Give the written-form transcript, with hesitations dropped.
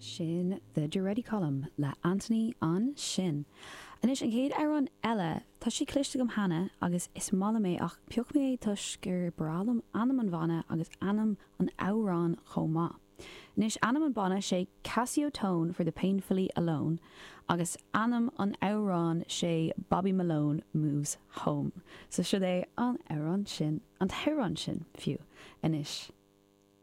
Sin The Duretti Column le Anthony ansin. Anois an chéad amhrán eile, tá sé cloiste agam cheana agus is maith liom é ach phioc mé é toisc gur breá liom ainm an bhanna agus ainm an amhráin chomh maith. Anois ainm an banna sé Casiotone for the Painfully Alone agus ainm an amhráin sé Bobby Malone Moves Home. So siod é an amhrán sin, an t-amhrán sin fiú anois.